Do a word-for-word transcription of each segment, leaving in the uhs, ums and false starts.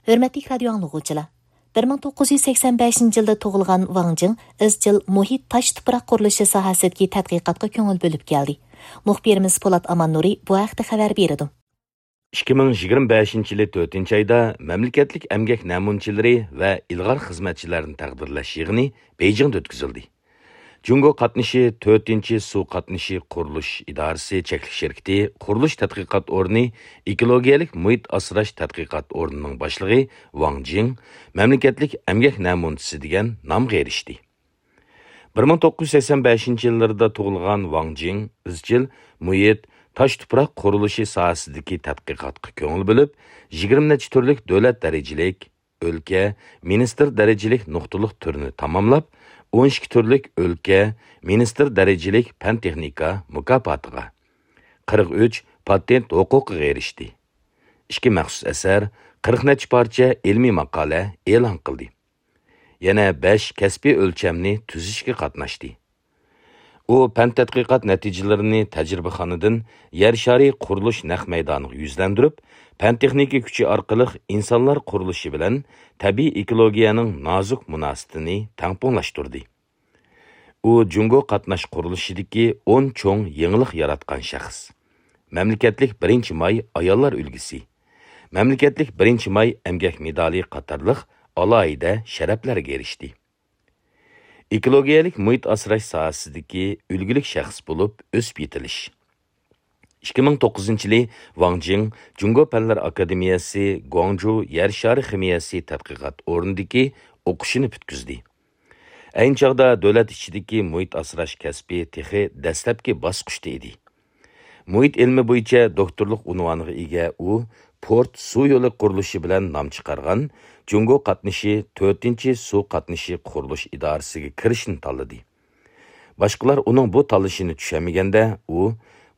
ھۆرمەتلىك رادىيو ئاڭلىغۇچىلار! بىر مىڭ توققۇز يۈز سەكسەن بەشىنچى يىلدا تۇغۇلغان ۋاڭ جىڭ ئىزچىل مۇھىت، تاش، تۇپراق قۇرۇلۇشى ساھەسىدىكى تەتقىقاتقا كۆڭۈل بۆلۈپ كەلدى. مۇخبىرىمىز پولات ئاماننۇرى بۇ ھەقتە خەۋەر بېرىدۇ. ئىككى مىڭ يىگىرمە بەشىنچى يىلى تۆتىنچى ئايدا مەملىكەتلىك ئەمگەك نەمۇنىچىلىرى ۋە ئىلغار خىزمەتچىلەرنى تەقدىرلەش يىغىنى بېيجىڭدا ئۆتكۈزۈلدى. جۇڭگو قاتنىشى تۆتىنچى سۇ قاتنىشى قۇرۇلۇش ئىدارىسى چەكلىك شىركىتى قۇرۇلۇش تەتقىقات ئورنى ئېكولوگىيەلىك مۇھىت ئاسراش تەتقىقات ئورنىنىڭ باشلىقى ۋاڭ جىڭ مەملىكەتلىك ئەمگەك نەمۇنىچىسى دېگەن نامغا ئېرىشتى. بىر مىڭ توققۇز يۈز سەكسەن بەشىنچى يىللىرىدا تۇغۇلغان ۋاڭ جىڭ ئىزچىل مۇھىت، تاش، تۇپراق قۇرۇلۇشى ساھەسىدىكى تەتقىقاتقا كۆڭۈل بۆلۈپ، يىگىرمە نەچچە تۈرلۈك دۆلەت دەرىجىلىك، ئۆلكە، مىنىستىر دەرىجىلىك نۇقتىلىق تۈرنى تاماملاپ، ئون ئىككى تۈرلۈك ئۆلكە، مىنىستىر دەرىجىلىك پەن-تېخنىكا مۇكاپاتىغا، قىرىق ئۈچ پاتېنت ھوقۇقىغا ئېرىشتى. ئىككى مەخسۇس ئەسەر، قىرىق نەچچە پارچە ئىلمىي ماقالە ئېلان قىلدى. يەنە بەش كەسپىي ئۆلچەمنى تۈزۈشكە قاتناشتى. ئۇ پەن تەتقىقات نەتىجىلىرىنى تەجرىبىخانىدىن يەر شارى قۇرۇلۇش نەق مەيدانىغا يۈزلەندۈرۈپ، پەن تېخنىكا كۈچى ئارقىلىق ئىنسانلار قۇرۇلۇشى بىلەن تەبىئىي ئېكولوگىيەنىڭ نازۇك مۇناسىۋىتىنى تەڭپۇڭلاشتۇردى. ئۇ جۇڭگو قاتناش قۇرۇلۇشىدىكى ئون چوڭ يېڭىلىق ياراتقان شەخس. مەملىكەتلىك بىرىنچى ماي ئاياللار ئۈلگىسى، مەملىكەتلىك بىرىنچى ماي ئەمگەك مېدالى قاتارلىق ئالاھىدە شەرەپلەرگە ئېرىشتى. ئېكولوگىيەلىك مۇھىت ئاسراش ساھەسىدىكى ئۈلگىلىك شەخس بولۇپ ئۆسۈپ يېتىلىش. ئىككى مىڭ توققۇزىنچى يىلى ۋاڭ جىڭ جۇڭگو پەنلەر ئاكادېمىيەسى گۇاڭجۇ يەر شارى خىمىيەسى تەتقىقات ئورنىدىكى ئوقۇشىنى پۈتكۈزدى. ئەينى چاغدا دۆلەت ئىچىدىكى مۇھىت ئاسراش كەسپى تېخى دەسلەپكى باسقۇچتا ئىدى. مۇھىت ئىلمى بويىچە دوكتورلۇق ئۇنۋانىغا ئىگە ئۇ، پورت سۇ يولى قۇرۇلۇشى بىلەن نام چىقارغان جۇڭگو قاتنىشى تۆتىنچى سۇ قاتنىشى قۇرۇلۇش ئىدارىسىگە كىرىشنى تاللىدى. باشقىلار ئۇنىڭ بۇ تاللىشىنى چۈشەنمىگەندە، ئۇ،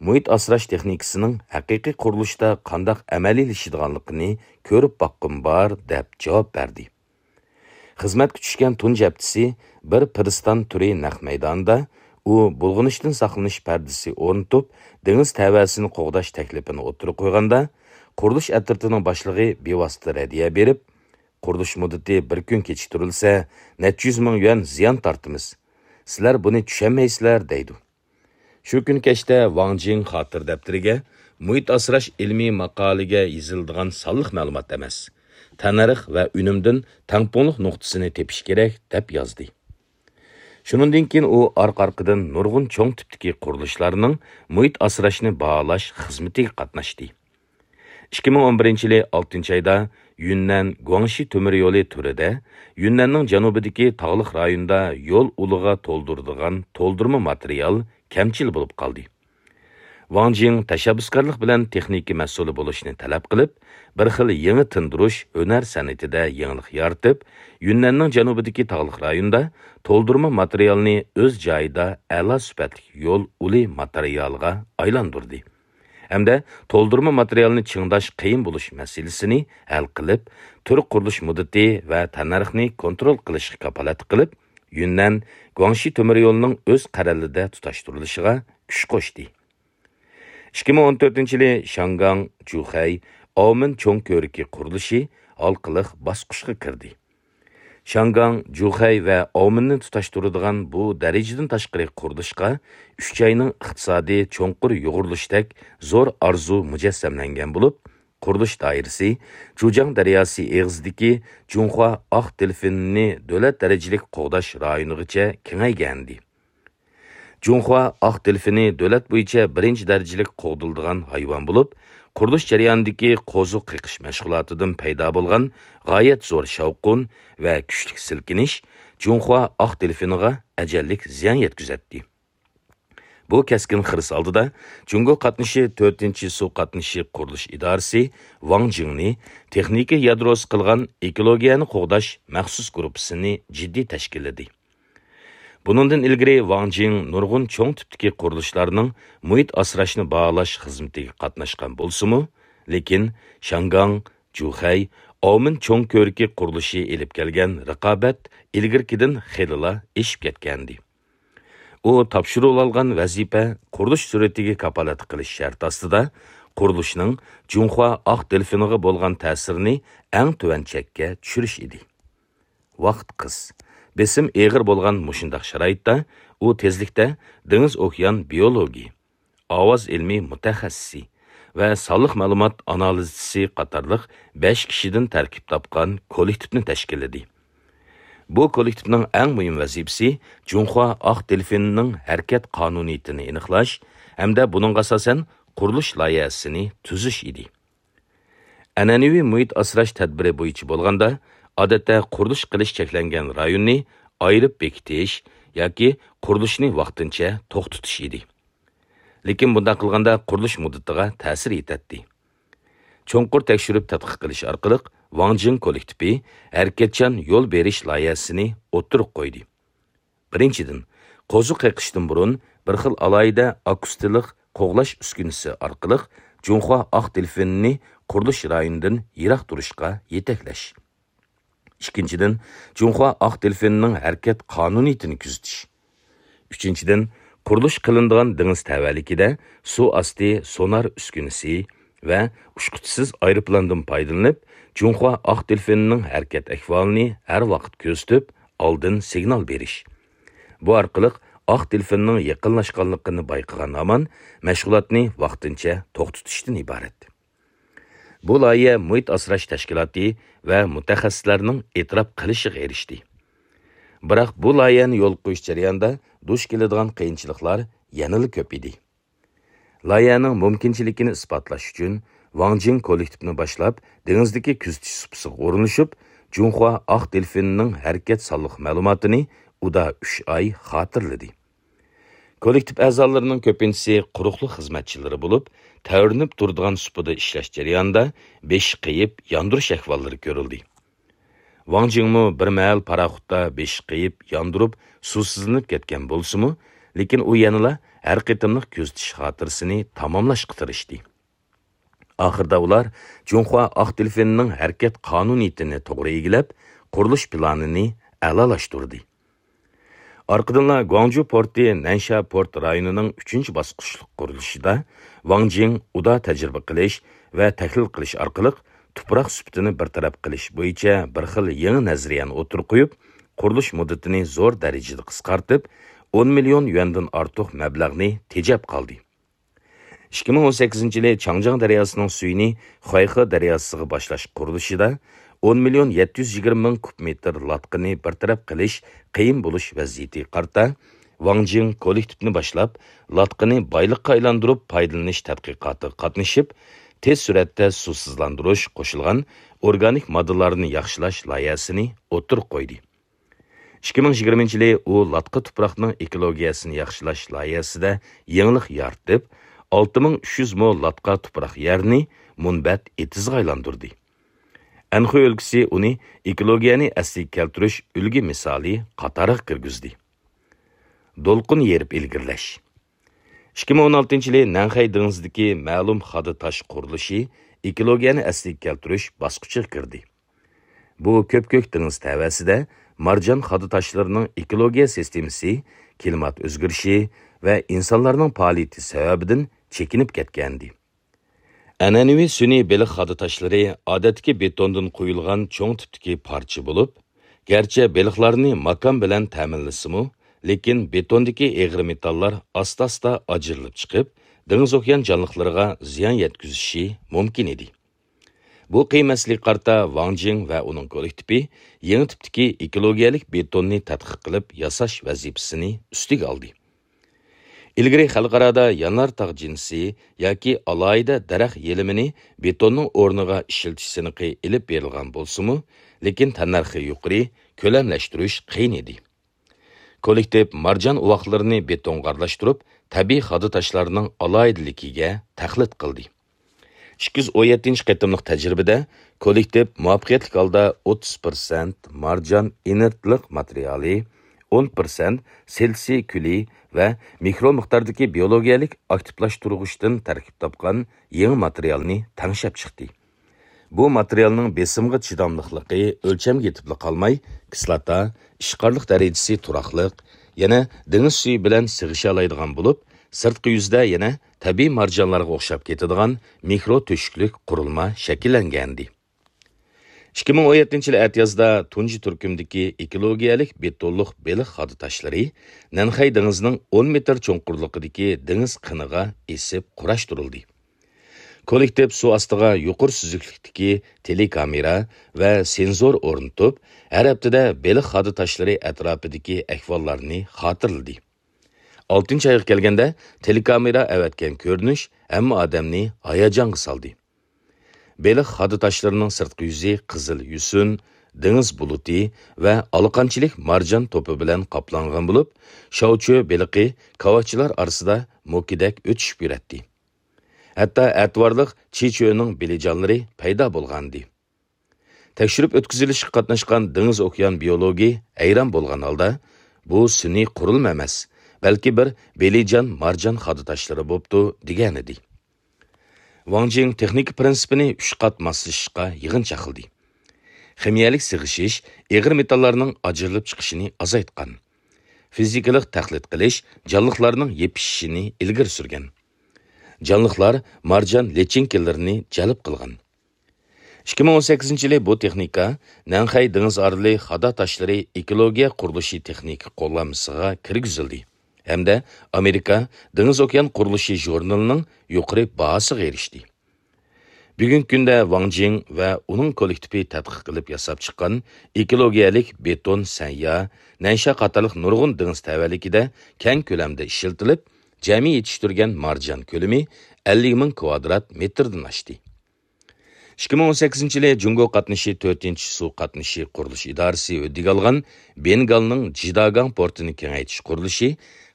مۇھىت ئاسراش تېخنىكىسىنىڭ ھەقىقىي قۇرۇلۇشتا قانداق ئەمەلىيلىشىدىغانلىقىنى كۆرۈپ باققۇم بار، دەپ جاۋاب بەردى. خىزمەتكە چۈشكەن تۇنجى ھەپتىسى بىر پىرىستان تۈرى نەق مەيدانىدا ئۇ بۇلغىنىشتىن ساقلىنىش پەردىسى ئورنىتىپ، دېڭىز تەۋەسىنى قوغداش تەكلىپىنى ئوتتۇرىغا قويغاندا، قۇرۇلۇش ئەترىتىنىڭ باشلىقى بىۋاسىتە رەددىيە بېرىپ، «قۇرۇلۇش مۇددىتى بىر كۈن كېچىكتۈرۈلسە، نەچچە يۈز مىڭ يۈەن زىيان تارتىمىز. سىلەر بۇنى چۈشەنمەيسىلەر» دەيدۇ. شۇ كۈنى كەچتە ۋاڭ جىڭ خاتىرە دەپتىرىگە، مۇھىت ئاسراش ئىلمىي ماقالىگە يېزىلىدىغان سانلىق مەلۇمات ئەمەس، تەننەرخ ۋە ئۈنۈمدىن تەڭپۇڭلۇق نۇقتىسىنى تېپىش كېرەك، دەپ يازدى. شۇنىڭدىن كېيىن ئۇ ئارقا-ئارقىدىن نۇرغۇن چوڭ تىپتىكى قۇرۇلۇشلارنىڭ مۇھىت ئاسراشنى باھالاش خىزمىتىگە قاتناشتى. ئىككى مىڭ ئون بىرىنچى يىلى ئالتىنچى ئايدا يۈننەن گۇاڭشى تۆمۈر يولى تۈرىدە يۈننەننىڭ جەنۇبىدىكى تاغلىق رايوندا يول ئۇلىغا تولدۇرىدىغان تولدۇرما ماتېرىيال كەمچىل بولۇپ قالدى. ۋاڭ جىڭ تەشەببۇسكارلىق بىلەن تېخنىكا مەسئۇلى بولۇشنى تەلەپ قىلىپ، بىر خىل يېڭى تىندۇرۇش ھۈنەر سەنئىتىدە يېڭىلىق يارىتىپ، يۈننەننىڭ جەنۇبىدىكى تاغلىق رايوندا تولدۇرما ماتېرىيالنى ئۆز جايىدا ئەلا سۈپەتلىك يول ئۇلى ماتېرىيالىغا ئايلاندۇردى. ھەمدە تولدۇرما ماتېرىيالنى چىڭداش قىيىن بولۇش مەسىلىسىنى ھەل قىلىپ، تۈر قۇرۇلۇش مۇددىتى ۋە تەننەرخنى كونترول قىلىشقا كاپالەتلىك قىلىپ، يۈننەن گۇاڭشى تۆمۈر يولىنىڭ ئۆز قەرەلىدە تۇتاشتۇرۇلۇشىغا كۈچ قوشتى. ئىككى مىڭ ئون تۆتىنچى يىلى شياڭگاڭ، جۇخەي، ئاۋمېن چوڭ كۆۋرۈكى قۇرۇلۇشى ھالقىلىق باسقۇچقا كىردى. شياڭگاڭ، جۇخەي ۋە ئاۋمېننى تۇتاشتۇرىدىغان بۇ دەرىجىدىن تاشقىرى قۇرۇلۇشقا ئۈچ ئاينىڭ ئىقتىسادىي چوڭقۇر يۇغۇرۇلۇشتەك زور ئارزۇ مۇجەسسەملەنگەن بولۇپ، قۇرۇلۇش دائىرىسى جۇجياڭ دەرياسى ئېغىزىدىكى جۇڭخۇا ئاق دېلفىنىنى دۆلەت دەرىجىلىك قوغداش رايونىغىچە كېڭەيگەنىدى. جۇڭخۇا ئاق دېلفىنى دۆلەت بويىچە بىرىنچى دەرىجىلىك قوغدىلىدىغان ھايۋان بولۇپ، قۇرۇلۇش جەريانىدىكى قوزۇق قېقىش مەشغۇلاتىدىن پەيدا بولغان غايەت زور شاۋقۇن ۋە كۈچلۈك سىلكىنىش جۇڭخۇا ئاق دېلفىنىغا ئەجەللىك زىيان يەتكۈزەتتى. بۇ كەسكىن خىرىس ئالدىدا جۇڭگو قاتنىشى تۆتىنچى سۇ قاتنىشى قۇرۇلۇش ئىدارىسى ۋاڭ جىڭنى تېخنىكا يادروسى قىلغان ئېكولوگىيەنى قوغداش مەخسۇس گۇرۇپپىسىنى جىددىي تەشكىللىدى. بۇنىڭدىن ئىلگىرى ۋاڭ جىڭ نۇرغۇن چوڭ تىپتىكى قۇرۇلۇشلارنىڭ مۇھىت ئاسراشنى باھالاش خىزمىتىگە قاتناشقان بولسىمۇ، لېكىن شياڭگاڭ، جۇخەي، ئاۋمېن چوڭ كۆۋرۈكى قۇرۇلۇشى ئېلىپ كەلگەن رىقابەت ئىلگىرىكىدىن خېلىلا ئېشىپ كەتكەنىدى. ئۇ تاپشۇرۇۋالغان ۋەزىپە قۇرۇلۇش سۈرئىتىگە كاپالەتلىك قىلىش شەرتى ئاستىدا قۇرۇلۇشنىڭ جۇڭخۇا ئاق دېلفىنىغا بولغان تەسىرىنى ئەڭ تۆۋەن چەككە چۈشۈرۈش ئىدى. ۋاقىت قىس. بېسىم ئېغىر بولغان مۇشۇنداق شارائىتتا ئۇ تېزلىكتە دېڭىز ئوكيان بىيولوگى، ئاۋاز ئىلمىي مۇتەخەسسىسى ۋە سانلىق مەلۇمات ئانالىزچىسى قاتارلىق بەش كىشىدىن تەركىب تاپقان كوللېكتىپنى تەشكىللىدى. بۇ كوللېكتىپنىڭ ئەڭ مۇھىم ۋەزىپىسى جۇڭخۇا ئاق دېلفىنىنىڭ ھەرىكەت قانۇنىيىتىنى ئېنىقلاش ھەمدە بۇنىڭغا ئاساسەن قۇرۇلۇش لايىھەسىنى تۈزۈش ئىدى. ئەنئەنىۋى مۇھىت ئاسراش تەدبىرى بويىچە بولغاندا، ئادەتتە قۇرۇلۇش قىلىش چەكلەنگەن رايوننى ئايرىپ بېكىتىش ياكى قۇرۇلۇشنى ۋاقتىنچە توختىتىش ئىدى. لېكىن بۇنداق قىلغاندا قۇرۇلۇش مۇددىتىغا تەسىر يېتەتتى. چوڭقۇر تەكشۈرۈپ تەتقىق قىلىش ئارقىلىق ۋاڭ جىڭ كوللېكتىپى ھەرىكەتچان يول بېرىش لايىھەسىنى ئوتتۇرىغا قويدى. بىرىنچىدىن، قوزۇق قېقىشتىن بۇرۇن بىر خىل ئالاھىدە ئاكۇستىلىق قوغلاش ئۈسكۈنىسى ئارقىلىق جۇڭخۇا ئاق دېلفىنىنى قۇرۇلۇش رايونىدىن يىراق تۇرۇشقا يېتەكلەش. ئىككىنچىدىن، جۇڭخۇا ئاق دېلفىنىنىڭ ھەرىكەت قانۇنىيىتىنى كۆزىتىش. ئۈچىنچىدىن، قۇرۇلۇش قىلىنىدىغان دېڭىز تەۋەلىكىدە سۇ ئاستى سونار ئۈسكۈنىسى ۋە ئۇچقۇچىسىز ئايروپىلاندىن پايدىلىنىپ، جۇڭخۇا ئاق دېلفىنىنىڭ ھەرىكەت ئەھۋالىنى ھەر ۋاقىت كۆزىتىپ، ئالدىن سىگنال بېرىش. بۇ ئارقىلىق ئاق دېلفىننىڭ يېقىنلاشقانلىقىنى بايقىغان ھامان مەشغۇلاتنى ۋاقتىنچە توختىتىشتىن ئىبارەت. بۇ لايىھە مۇھىت ئاسراش تەشكىلاتى ۋە مۇتەخەسسىسلەرنىڭ ئېتىراپ قىلىشىغا ئېرىشتى. بىراق بۇ لايىھەنى يولغا قويۇش جەريانىدا دۇچ كېلىدىغان قىيىنچىلىقلار يەنىلا كۆپ ئىدى. لايىھەنىڭ مۇمكىنچىلىكىنى ئىسپاتلاش ئۈچۈن، ۋاڭ جىڭ كوللېكتىپنى باشلاپ، دېڭىزدىكى كۆزىتىش سۇپىسىغا ئورۇنلىشىپ، جۇڭخۇا ئاق دېلفىنىنىڭ ھەرىكەت سانلىق مەلۇماتىنى ئۇدا ئۈچ ئاي خاتىرىلىدى. كوللېكتىپ ئەزالىرىنىڭ كۆپىنچىسى قۇرۇقلۇق خىزمەتچىلىرى بولۇپ، تەۋرىنىپ تۇرىدىغان سۇپىدا ئىشلەش جەريانىدا بېشى قېيىپ ياندۇرۇش ئەھۋاللىرى كۆرۈلدى. ۋاڭ جىڭمۇ بىر مەھەل پاراخوتتا بېشى قېيىپ ياندۇرۇپ، سۇسىزلىنىپ كەتكەن بولسىمۇ، لېكىن ئۇ يەنىلا ھەر قېتىملىق كۆزىتىش خاتىرىسىنى تاماملاشقا تىرىشتى. ئاخىرىدا ئۇلار جۇڭخۇا ئاق دېلفىنىنىڭ ھەرىكەت قانۇنىيىتىنى توغرا ئىگىلەپ، قۇرۇلۇش پىلانىنى ئەلالاشتۇردى. ئارقىدىنلا گۇاڭجۇ پورتى نەنشيا پورت رايونىنىڭ ئۈچىنچى باسقۇچلۇق قۇرۇلۇشىدا ۋاڭ جىڭ ئۇدا تەجرىبە قىلىش ۋە تەھلىل قىلىش ئارقىلىق تۇپراق سۈپىتىنى بىر تەرەپ قىلىش بويىچە بىر خىل يېڭى نەزەرىيەنى ئوتتۇرىغا قويۇپ، قۇرۇلۇش مۇددىتىنى زور دەرىجىدە قىسقارتىپ، ئون مىليون يۈەندىن ئارتۇق مەبلەغنى تېجەپ قالدى. ئىككى مىڭ ئون سەككىزىنچى يىلى چاڭجياڭ دەرياسىنىڭ سۈيىنى خۇەيخې دەرياسىغا باشلاش قۇرۇلۇشىدا ئون مىليون يەتتە يۈز يىگىرمە مىڭ كۇب مېتىر لاتقىنى بىر تەرەپ قىلىش قىيىن بولۇش ۋەزىيىتىگە قارىتا، ۋاڭ جىڭ كوللېكتىپنى باشلاپ، لاتقىنى بايلىققا ئايلاندۇرۇپ پايدىلىنىش تەتقىقاتىغا قاتنىشىپ، تېز سۈرئەتتە سۇسىزلاندۇرۇش قوشۇلغان ئورگانىك ماددىلارنى ياخشىلاش لايىھەسىنى ئوتتۇرىغا قويدى. ئىككى مىڭ يىگىرمىنچى يىلى ئۇ لاتقا تۇپراقنىڭ ئېكولوگىيەسىنى ياخشىلاش لايىھەسىدە يېڭىلىق يارىتىپ، ئالتە مىڭ ئۈچ يۈز مو لاتقا تۇپراق يەرنى مۇنبەت ئېتىزغا ئايلاندۇردى. ئەنخۇي ئۆلكىسى ئۇنى ئېكولوگىيەنى ئەسلىگە كەلتۈرۈش ئۈلگە مىسالى قاتارىغا كىرگۈزدى. دولقۇن يېرىپ ئىلگىرىلەش. ئىككى مىڭ ئون ئالتىنچى يىلى نەنخەي دېڭىزىدىكى مەلۇم خادا تاش قۇرۇلۇشى ئېكولوگىيەنى ئەسلىگە كەلتۈرۈش باسقۇچىغا كىردى. بۇ كۆپكۆك دېڭىز تەۋەسىدە مارجان خادا تاشلىرىنىڭ ئېكولوگىيە سىستېمىسى كىلىمات ئۆزگىرىشى ۋە ئىنسانلارنىڭ پائالىيىتى سەۋەبىدىن چېكىنىپ كەتكەنىدى. ئەنئەنىۋى سۈنئىي بېلىق خادا تاشلىرى ئادەتتىكى بېتوندىن قويۇلغان چوڭ تىپتىكى پارچە بولۇپ، گەرچە بېلىقلارنى ماكان بىلەن تەمىنلىسىمۇ، لېكىن بېتوندىكى ئېغىر مېتاللار ئاستا-ئاستا ئاجرىلىپ چىقىپ، دېڭىز ئوكيان جانلىقلىرىغا زىيان يەتكۈزۈشى مۇمكىن ئىدى. بۇ قىيىن مەسىلىگە قارىتا ۋاڭ جىڭ ۋە ئۇنىڭ كوللېكتىپى يېڭى تىپتىكى ئېكولوگىيەلىك بېتوننى تەتقىق قىلىپ ياساش ۋەزىپىسىنى ئۈستىگە ئالدى. ئىلگىرى خەلقئارادا يانار تاغ جىنسى ياكى ئالاھىدە دەرەخ يېلىمىنى بېتوننىڭ ئورنىغا ئىشلىتىش سىنىقى ئېلىپ بېرىلغان بولسىمۇ، لېكىن تەننەرخى يۇقىرى، كۆلەملەشتۈرۈش قىيىن ئىدى. كوللېكتىپ مارجان ئۇۋاقلىرىنى بېتونغا ئارىلاشتۇرۇپ، تەبىئىي خادا تاشلارنىڭ ئالاھىدىلىكىگە تەقلىد قىلدى. ئىككى يۈز ئون يەتتىنچى قېتىملىق تەجرىبىدە كوللېكتىپ مۇۋەپپەقىيەتلىك ھالدا ئوتتۇز پىرسەنت مارجان ئىنېرتلىق ماتېرىيالى، ئون پىرسەنت سىلىسىي كۈلى ۋە مىكرو مىقداردىكى بىيولوگىيەلىك ئاكتىپلاشتۇرغۇچتىن تەركىب تاپقان يېڭى ماتېرىيالنى تەڭشەپ چىقتى. بۇ ماتېرىيالنىڭ بېسىمغا چىداملىقلىقى، ئۆلچەمگە يېتىپلا قالماي، كىسلاتا، ئىشقارلىق دەرىجىسى تۇراقلىق، يەنە دېڭىز سۈيى بىلەن سىغىشالايدىغان بولۇپ، سىرتقى يۈزىدە يەنە تەبىئىي مارجانلارغا ئوخشاپ كېتىدىغان مىكرو تۆشۈكلۈك قۇرۇلما شەكىللەنگەنىدى. ئىككى مىڭ ئون يەتتىنچى يىلى ئەتىيازدا تۇنجى تۈركۈمدىكى ئېكولوگىيەلىك بېتونلۇق بېلىق خادا تاشلىرى نەنخەي دېڭىزىنىڭ ئون مېتىر چوڭقۇرلۇقىدىكى دېڭىز قېنىغا ئېسىپ قۇراشتۇرۇلدى. كوللېكتىپ سۇ ئاستىغا يۇقىرى سۈزۈكلۈكتىكى تېلېكامېرا ۋە سېنزور ئورنىتىپ، ھەر ھەپتىدە بېلىق خادا تاشلىرى ئەتراپىدىكى ئەھۋاللارنى خاتىرىلىدى. ئالتىنچى ئايغا كەلگەندە، تېلېكامېرا ئەۋەتكەن كۆرۈنۈش ھەممە ئادەمنى ھاياجانغا سالدى. بېلىق خادا تاشلىرىنىڭ سىرتقى يۈزى قىزىل يۈسۈن، دېڭىز بۇلۇتى ۋە ئالىقانچىلىك مارجان توپى بىلەن قاپلانغان بولۇپ، شاۋچۈ بېلىقى كاۋاچىلار ئارىسىدا موكىدەك ئۆتۈشۈپ يۈرەتتى. ھەتتا ئەتىۋارلىق چىچۆنىڭ بېلىجانلىرى پەيدا بولغانىدى. تەكشۈرۈپ ئۆتكۈزۈلۈشكە قاتناشقان دېڭىز ئوكيان بىيولوگى ھەيران بولغان ھالدا، «بۇ سۈنئىي قۇرۇلما ئەمەس، بەلكى بىر بېلىجان مارجان خادا تاشلىرى بوپتۇ» دېگەنىدى. ۋاڭ جىڭ تېخنىكا پىرىنسىپىنى ئۈچ قات ماسلىشىشقا يىغىن چاقلىدى. خىمىيەلىك سىغىشىش، ئېغىر مېتاللارنىڭ ئاجرىلىپ چىقىشىنى ئازايتقان. فىزىكىلىق تەقلىد قىلىش جانلىقلارنىڭ يېپىشىشىنى ئىلگىرى سۈرگەن. جانلىقلار مارجان لىچىنكىلىرىنى جەلپ قىلغان. ئىككى مىڭ ئون سەككىزىنچى يىلى بۇ تېخنىكا نەنخەي دېڭىز ئارىلى خادا تاشلىرى ئېكولوگىيە قۇرۇلۇشى تېخنىكا قوللانمىسىغا كىرگۈزۈلدى ھەمدە ئامېرىكا دېڭىز ئوكيان قۇرۇلۇشى ژۇرنىلىنىڭ يۇقىرى باھاسىغا ئېرىشتى. بۈگۈنكى كۈندە ۋاڭ جىڭ ۋە ئۇنىڭ كوللېكتىپى تەتقىق قىلىپ ياساپ چىققان ئېكولوگىيەلىك بېتون سەنيا، نەنشا قاتارلىق نۇرغۇن دېڭىز تەۋەلىكىدە كەڭ كۆلەمدە ئىشلىتىلىپ، جەمئىي يېتىشتۈرگەن مارجان كۆلىمى ئەللىك مىڭ كۋادرات مېتىردىن ئاشتى. ئىككى مىڭ ئون سەككىزىنچى يىلى جۇڭگو قاتنىشى تۆتىنچى سۇ قاتنىشى قۇرۇلۇش ئىدارىسى ھۆددىگە ئالغان بېنگالنىڭ جىداگاڭ پورتىنى كېڭەيتىش قۇرۇلۇشى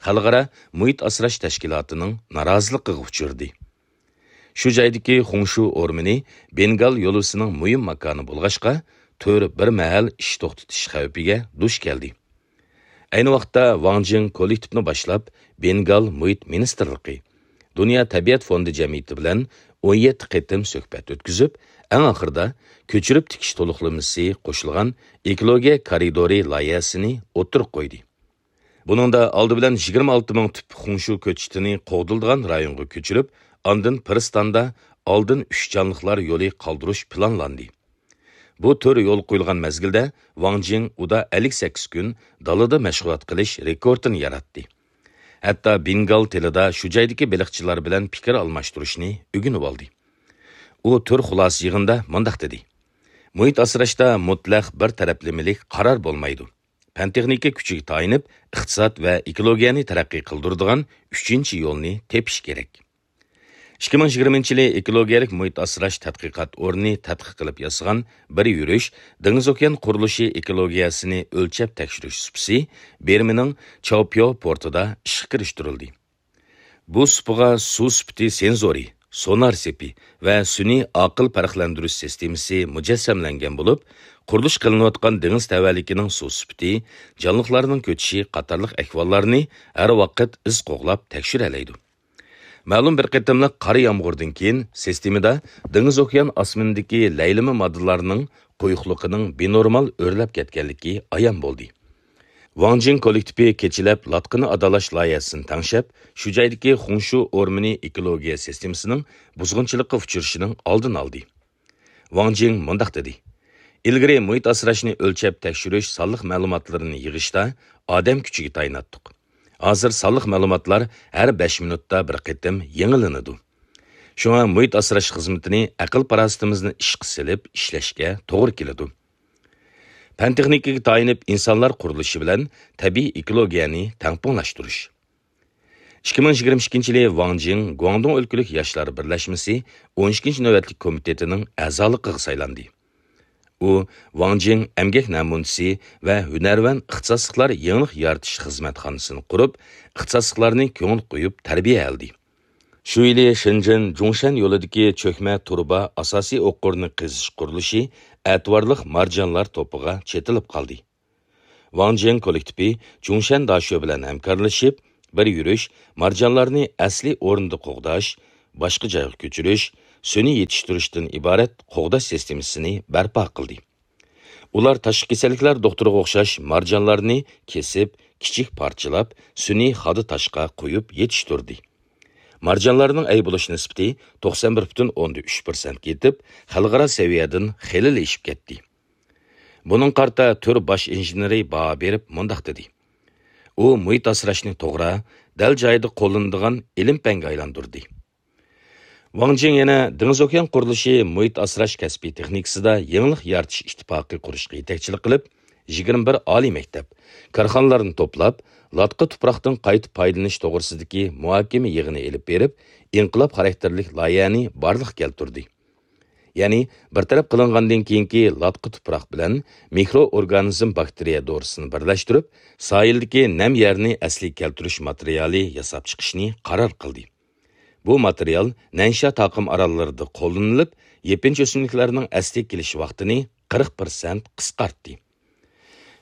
خەلقئارا مۇھىت ئاسراش تەشكىلاتىنىڭ نارازىلىقىغا ئۇچرىدى. شۇ جايدىكى خۇڭشۇ ئورمىنى بېنگال يولۋىسىنىڭ مۇھىم ماكانى بولغاچقا، تۈر بىر مەھەل ئىش توختىتىش خەۋپىگە دۇچ كەلدى. ئەينى ۋاقىتتا ۋاڭ جىڭ كوللېكتىپنى باشلاپ، بېنگال مۇھىت مىنىستىرلىقى، دۇنيا تەبىئەت فوندى جەمئىيىتى بىلەن ئون يەتتە قېتىم سۆھبەت ئۆتكۈزۈپ، ئەڭ ئاخىرىدا كۆچۈرۈپ تىكىش تولۇقلىمىسى قوشۇلغان ئېكولوگىيە كارىدورى لايىھەسىنى ئوتتۇرىغا قويدى. بۇنىڭدا ئالدى بىلەن يىگىرمە ئالتە مىڭ تۈپ خۇڭشۇ كۆچىتىنى قوغدىلىدىغان رايونغا كۆچۈرۈپ، ئاندىن پىرىستاندا ئالدىن ئۈچ جانلىقلار يولى قالدۇرۇش پىلانلاندى. بۇ تۈر يولغا قويۇلغان مەزگىلدە ۋاڭ جىڭ ئۇدا ئەللىك سەككىز كۈن دالىدا مەشغۇلات قىلىش رېكورتىنى ياراتتى. ھەتتا بېنگال تېلىدا شۇ جايدىكى بېلىقچىلار بىلەن پىكىر ئالماشتۇرۇشنى ئۆگىنىۋالدى. ئۇ تۈر خۇلاسە يىغىنىدا مۇنداق دېدى: «مۇھىت ئاسراشتا مۇتلەق بىر تەرەپلىمىلىك قارار بولمايدۇ. پەن-تېخنىكا كۈچىگە تايىنىپ، ئىقتىساد ۋە ئېكولوگىيەنى تەرەققىي قىلدۇرىدىغان ئۈچىنچى يولنى تېپىش كېرەك.» ئىككى مىڭ يىگىرمىنچى يىلى ئېكولوگىيەلىك مۇھىت ئاسراش تەتقىقات ئورنى تەتقىق قىلىپ ياسىغان بىر يۈرۈش دېڭىز ئوكيان قۇرۇلۇشى ئېكولوگىيەسىنى ئۆلچەپ تەكشۈرۈش سۇپىسى بىرمىنىڭ چاۋپيو پورتىدا ئىشقا كىرىشتۈرۈلدى. بۇ سۇپىغا سۇ سۈپىتى سېنزورى، سونار سېپى ۋە سۈنئىي ئاقىل پەرقلەندۈرۈش سىستېمىسى مۇجەسسەملەنگەن بولۇپ، قۇرۇلۇش قىلىنىۋاتقان دېڭىز تەۋەلىكىنىڭ سۇ سۈپىتى، جانلىقلارنىڭ كۆچۈشى قاتارلىق ئەھۋاللارنى ھەر ۋاقىت ئىز قوغلاپ تەكشۈرەلەيدۇ. مەلۇم بىر قېتىملىق قارا يامغۇردىن كېيىن سىستېمىدا دېڭىز ئوكيان ئاسمىنىدىكى لەيلىمە ماددىلارنىڭ قويۇقلۇقىنىڭ بىنورمال ئۆرلەپ كەتكەنلىكى ئايان بولدى. ۋاڭ جىڭ كوللېكتىپى كېچىلەپ لاتقىنى ئادالاش لايىھەسىنى تەڭشەپ، شۇ جايدىكى خۇڭشۇ ئورمىنى ئېكولوگىيە سىستېمىسىنىڭ بۇزغۇنچىلىققا ئۇچرىشىنىڭ ئالدىنى ئالدى. ۋاڭ جىڭ مۇنداق دېدى: «ئىلگىرى مۇھىت ئاسراشنى ئۆلچەپ تەكشۈرۈش سانلىق مەلۇماتلىرىنى يىغىشتا ئادەم كۈچىگە تايىناتتۇق. ھازىر سانلىق مەلۇماتلار ھەر بەش مىنۇتتا بىر قېتىم يېڭىلىنىدۇ. شۇڭا مۇھىت ئاسراش خىزمىتىنى ئەقىل-پاراسىتىمىزنى ئىشقا سېلىپ ئىشلەشكە توغرا كېلىدۇ. پەن-تېخنىكىگە تايىنىپ ئىنسانلار قۇرۇلۇشى بىلەن تەبىئىي ئېكولوگىيەنى تەڭپۇڭلاشتۇرۇش.» ئىككى مىڭ يىگىرمە ئىككىنچى يىلى ۋاڭ جىڭ گۇاڭدۇڭ ئۆلكىلىك ياشلار بىرلەشمىسى ئون ئىككىنچى نۆۋەتلىك كومىتېتىنىڭ ئەزالىقىغا سايلاندى. ئۇ ۋاڭ جىڭ ئەمگەك نەمۇنىسى ۋە ھۈنەرۋەن ئىختىساسلىقلار يېڭىلىق يارىتىش خىزمەتخانىسىنى قۇرۇپ، ئىختىساسلىقلارنى كۆڭۈل قويۇپ تەربىيەلىدى. شۇ يىلى شېنجېن جۇڭشەن يولىدىكى چۆكمە تۇرۇبا ئاساسىي ئوقۇرنى قېزىش قۇرۇلۇشى ئەتىۋارلىق مارجانلار توپىغا چېتىلىپ قالدى. ۋاڭ جيەن كوللېكتىپى جۇڭشەن داشۆ بىلەن ھەمكارلىشىپ، بىر يۈرۈش مارجانلارنى ئەسلىي ئورنىدا قوغداش، باشقا جايغا كۆچۈرۈش، سۈنئىي يېتىشتۈرۈشتىن ئىبارەت قوغداش سىستېمىسىنى بەرپا قىلدى. ئۇلار تاشقى كېسەللىكلەر دوختۇرىغا ئوخشاش مارجانلارنى كېسىپ، كىچىك پارچىلاپ، سۈنئىي خادا تاشقا قويۇپ يېتىشتۈردى. مارجانلارنىڭ ئەيىب بولۇش نىسبىتى توقسان بىر پۈتۈن ئوندىن ئۈچ پىرسەنتكە يېتىپ، خەلقئارا سەۋىيەدىن خېلىلا ئېشىپ كەتتى. بۇنىڭغا قارىتا تۈر باش ئىنژېنېرى باھا بېرىپ مۇنداق دېدى: ئۇ مۇھىت ئاسراشنى توغرا، دەل جايىدا قوللىنىدىغان ئىلىم-پەنگە ئايلاندۇردى. ۋاڭ جىڭ يەنە دېڭىز ئوكيان قۇرۇلۇشى مۇھىت ئاسراش كەسپىي تېخنىكىسىدا يېڭىلىق يارىتىش ئىتتىپاقى قۇرۇشقا يېتەكچىلىك قىلىپ، يىگىرمە بىر ئالىي مەكتەپ، كارخانىلارنى توپلاپ، لاتقا تۇپراقتىن قايتا پايدىلىنىش توغرىسىدىكى مۇھاكىمە يىغىنى ئېلىپ بېرىپ، ئىنقىلاب خاراكتېرلىك لايىھەنى بارلىققا كەلتۈردى. يەنى بىر تەرەپ قىلىنغاندىن كېيىنكى لاتقا تۇپراق بىلەن مىكرو ئورگانىزم باكتېرىيە دورىسىنى بىرلەشتۈرۈپ، ساھىلدىكى نەم يەرنى ئەسلىگە كەلتۈرۈش ماتېرىيالى ياساپ چىقىشنى قارار قىلدى. بۇ ماتېرىيال نەنشيا تاقىم ئاراللىرىدا قوللىنىلىپ، يېپىنچا ئۆسۈملۈكلەرنىڭ ئەسلىگە كېلىش ۋاقتىنى قىرىق پىرسەنت قىسقارتتى.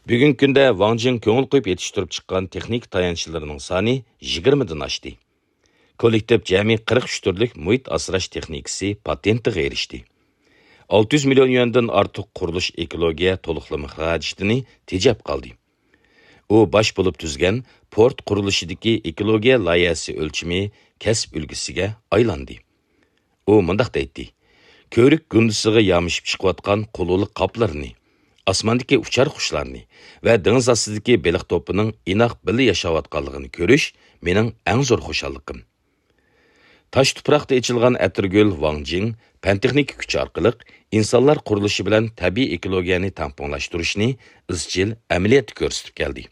بۈگۈنكى كۈندە ۋاڭ جىڭ كۆڭۈل قويۇپ يېتىشتۈرۈپ چىققان تېخنىكا تايانچلىرىنىڭ سانى يىگىرمىدىن ئاشتى. كوللېكتىپ جەمئىي قىرىق ئۈچ تۈرلۈك مۇھىت ئاسراش تېخنىكىسى پاتېنتىغا ئېرىشتى. ئالتە يۈز مىليون يۈەندىن ئارتۇق قۇرۇلۇش ئېكولوگىيە تولۇقلىما خىراجىتىنى تېجەپ قالدى. ئۇ باش بولۇپ تۈزگەن پورت قۇرۇلۇشىدىكى ئېكولوگىيە لايىھەسى ئۆلچىمى كەسىپ ئۈلگىسىگە ئايلاندى. ئۇ مۇنداق دەيتتى: كۆۋرۈك گۇندىسىغا يامىشىپ چىقىۋاتقان قۇلۇلۇق قاپلىرىنى، ئاسماندىكى ئۇچار قۇشلارنى ۋە دېڭىز ئاستىدىكى بېلىق توپىنىڭ ئىناق بىللە ياشاۋاتقانلىقىنى كۆرۈش مېنىڭ ئەڭ زور خۇشاللىقىم. تاش تۇپراقتا ئېچىلغان ئەتىرگۈل ۋاڭ جىڭ پەن-تېخنىكا كۈچى ئارقىلىق ئىنسانلار قۇرۇلۇشى بىلەن تەبىئىي ئېكولوگىيەنى تەڭپۇڭلاشتۇرۇشنى ئىزچىل ئەمەلىيەتتە كۆرسىتىپ كەلدى.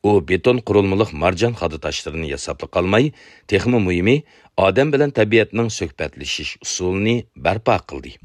ئۇ بېتون قۇرۇلمىلىق مارجان خادا تاشلىرىنى ياساپلا قالماي، تېخىمۇ مۇھىمى، ئادەم بىلەن تەبىئەتنىڭ سۆھبەتلىشىش ئۇسۇلىنى بەرپا قىلدى.